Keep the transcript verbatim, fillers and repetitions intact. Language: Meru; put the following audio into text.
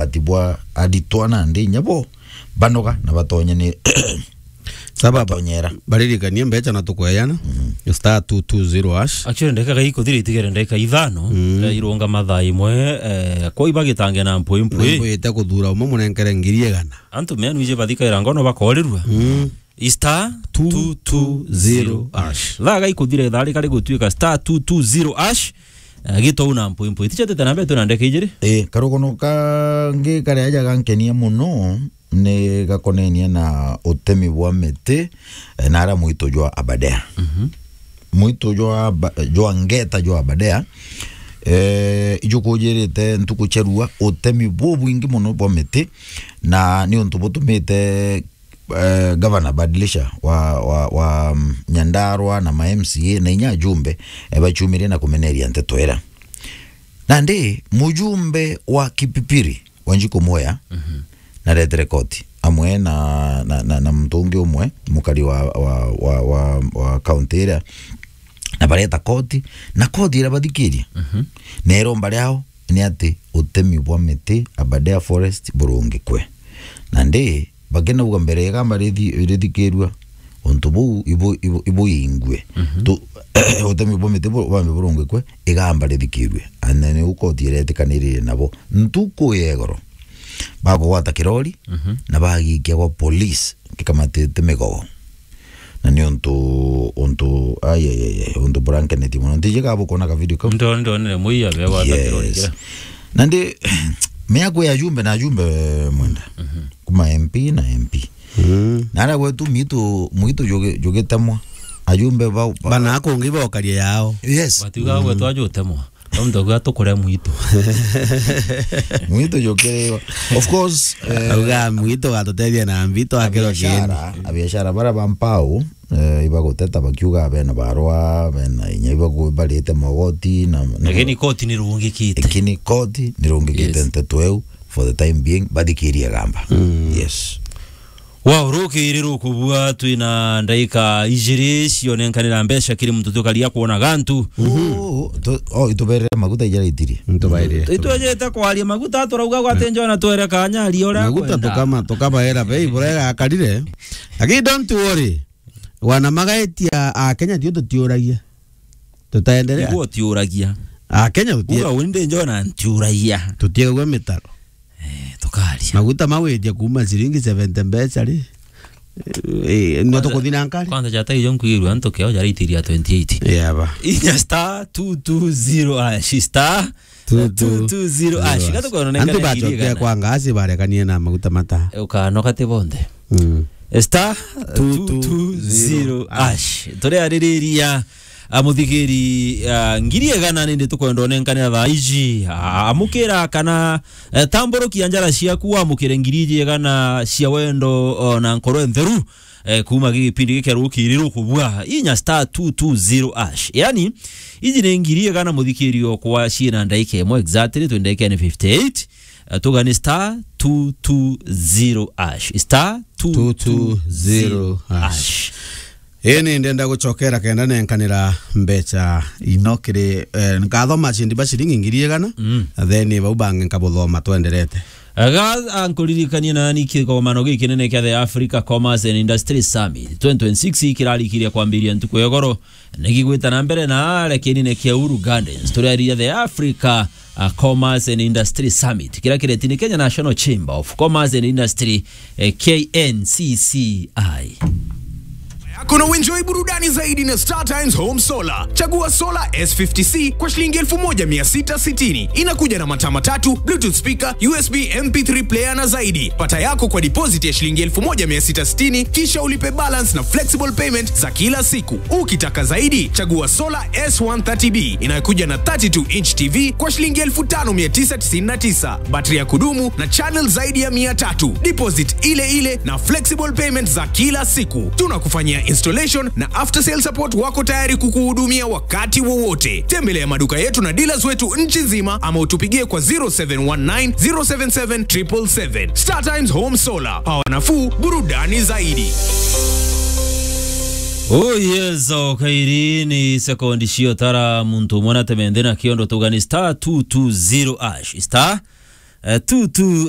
ati bwa aritwa nandi inya bo banoga na batonye ni Sababu batonyera. Baririkanie mbecha na tukweyana. Star two two zero hash. Actually, ndagika gai kuthira itigere ndagika ithano, mm, eh, irunga mathaa imwe, eh, kwa ibagitange na mpwi mpwi. Mpwite kuthura umwe munenkere ngiri igana. Antu menu ije bathikaira ngono bakorirua. Mm. Star two two zero hash. Thaa gai kuthira ithaa rikari gutuika star two two zero hash. Eh, gitau na mpwi mpwi. Tichetete na mbetu na ndeke ijiri. Eh, karugono kangi karia aja gankenia muno ni gakonenie na utemi bwa miti, eh, na ara mwitu jwa Aberdare. Mhm. Mwitu jwa Aba-, jwa ngeta jwa Aberdare, eh, ijukujirite ntuku cia rua utemi bubwingi muno bwa miti, na ni untu butumite, eh, Gavana Badilisha wa, wa, wa, mm, Nyandarua na ma M C A na inya ajumbe, eh, bachumirie na kumeneria nteto ira. Nandi mujumbe wa Kipipiri, Wanjiku Mwea, mhm, naretere koti amwe na, na, na, na muntu ungi umwe, mukari wa, wa, wa, wa, wa kaunti iria, na bareta koti, na koti irabathikiria. Mhm. Na iromba riao ni ati utemi bwa miti Aberdare Forest burungikwe. Nandi bakinauga mbere igamba rithi-, rithikirua, untu buu ibu-, ibu-, ibuingue. Mhm. Tu-, utemi bwa miti bu-, bwambe burungikwe, igamba rithikirue. And then niu koti iretikaniririe nabo. Ntuku ya igoro, bakugwata kirori, mhm, na bagikia gwa police, gikamatite migogo. Na ni untu, untu, ai, ai, ai, ai, untu burankenetie muno. Ntiji ka bukwona ka video kau? Ndo-, ndonere muiya be gwata kirori. Yes. Kira. Nandi, miaku ya ajumbe na ajumbe mwenda. Mhm. Kuma M P na M P. Mm. Na ara gwetu mitu, mwitu jugi-, jugitemwa. Ajumbe ba, ba- Bana kungi bokaria yao. Yes. Batiuga gwetu ajutemwa. Tontu gwa tukure mwitu. Mwitu jukiriwa. Of course, eh, auga mwitu gatutethia na mbitu akiro kindi. Abiashara, abiashara bara ba mpau, eh, ibaguteta bakiuga bena barwa, bena inya ibagu-, barite mogoti na, na lakini koti ni rungikite. Lakini koti ni rungikite. Yes. Nteto eu for the time being, bathikirie gamba. Mm. Yes. Wa urukiri rukubua, twina ndaika ijiri cionenkanira mbeca kiri muntu tukaria kwona gantu. Mhm. Oh, tu-, oh, ituberere maguta ijaraitirie. Ntubairire. Itwejete kwaria maguta, turauga gwate njona twere kanya aria uria maguta akwenda. Tukama-, tukabaera bei buria igakarire. Lakini don't worry. Wana magaetia a Kenya tio tutiuragia. Tutaendelea. Niguo utiuragia. A Kenya tutie-, uga undi njona ntiuragia. Tutiegua mitaro. Eh, tukaria. Maguta mawitia kuma ciringi seventy mbeca ri. Eh, no tukuthi na nkari. Kwanza jata ijo nkwirwa antu keo jaraitiria twenty eight. Yeah, ba. Inya star two two zero hash, star two two zero hash. Gatukorwo na antu ngana bacokia kwa ngasi barekanie na maguta mata. Ukanoka ti bonthe. Mm. Star two two zero hash. Turiaririria, a, muthigiri, a, ngiri igana nindi tukwenda unenkanira thaa iji. A, amukira kana, e, tamburukia njara ciaku wamukire ngiri iji igana cia wendo, o, na nkoro ntheru, e, kuma gipindi gikia rukiri rukubua. Inya star two two zero hash. Yani, iji ni ngiri igana muthikiri okwa ciina ndaika imwe exactly, twi ndaika ni fifty eight. Eh, tugani star two two zero hash. Star two two zero hash. Ii ni ndenda gucokera kenda nenkanira mbeca ino kiri, eh, nkathoma cindi ba ciringi ngiri igana, mm, na then bau bangi nkabuthoma twenderete. Ga, a, nkuririkanie nani kikomano gikinene kia the Africa Commerce and Industry Summit twenty twenty-six kirarikiria kwambiria ntuku ya igoro. Nigigwita na mbere na kiinine kia Uhuru Gardens, turiariria the Africa, uh, Commerce and Industry Summit, kiria kireti ni Kenya National Chamber of Commerce and Industry, eh, K N C C I. Yako na uenjoy burudani zaidi na Star Times Home Solar. Chagua Solar S fifty C kwa shilingi elfu moja mia sita sitini. Inakuja na mataa matatu, Bluetooth speaker, U S B M P three player na zaidi. Pata yako kwa deposit ya shilingi elfu moja mia sita sitini, kisha ulipe balance na flexible payment za kila siku. Ukitaka zaidi, chagua Solar S one thirty B inayokuja na thirty-two inch T V kwa shilingi elfu tano mia tisa tisini na tisa, battery ya kudumu na channel zaidi ya mia tatu. Deposit ile ile na flexible payment za kila siku. Tunakufanyia installation na after sale support wako tayari kukuhudumia wakati wowote. Tembelea maduka yetu na dealers wetu nchi nzima ama utupigie kwa zero seven one nine, zero seven seven, triple seven. Star Times Home Solar. Power nafuu, burudani zaidi. Oh yes, o kairi ni sekondi cio tara muntu umwe na temende na kiondo tugani star two two zero hash. Star Eh, tu, tu,